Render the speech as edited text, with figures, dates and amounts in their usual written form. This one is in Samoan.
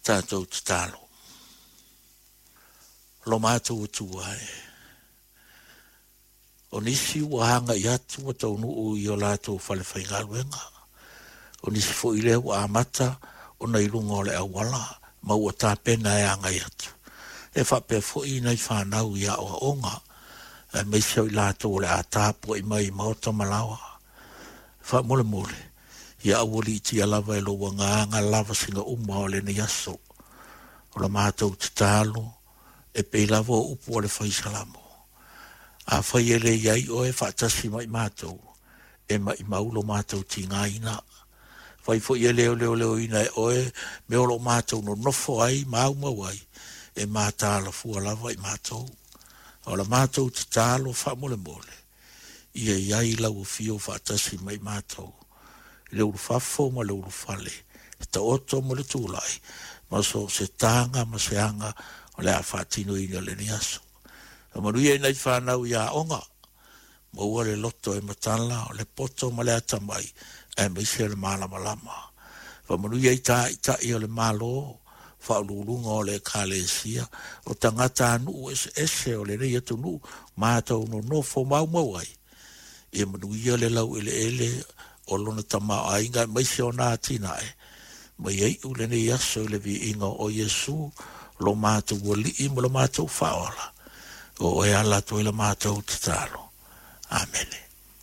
Tatou tatalo. Lo matou Atua e, o nisi ua agai atu ma taunuu i o latou falefaigaluega, o nisi foi lea ua amata ona i luga o le auala ma ua tapena e agai atu. E faapea foi nai fanau i aoaoga, aemaise o i latou o le a tapuai mai i maota ma laoa. Faamolemole, ia aualiitia lava e lou Agaga lavasiga uma o lenei aso. O la matou tatalo, e pei lava o upu a le Fai Salamo, Afai e le i ai oe faatasi ma i matou, e maimau lo matou tigaina. Fai foi e le leoleoina e oe mea o lo o matou nonofo ai ma aumau ai, e mataala fua lava i matou. O la matou tatalo faamolemole, ia i ai lau afio faatasi ma i matou, i le ulufafo ma le ulufale, le taoto ma le tulai, ma so o se taga ma se aga o le a faatinoina i lenei aso. Faamanuia i nai fanau i aoga, maua le loto e matala, o le poto ma le atamai, aemaise o le malamalama. Faamanuia i taitai o le Malo, faauluuluga o le Ekalesia, o tagatanuu eseese o lenei atunuu matou nonofo maumau ai, ia manuia le laueleele o lona tamaoaiga aemaise ona atinae, ma ia iu lenei aso i le viiga o Iesu, lo matou Alii ma lo matou Faaola, o oe e ala atu ai la matou tatalo. Amene.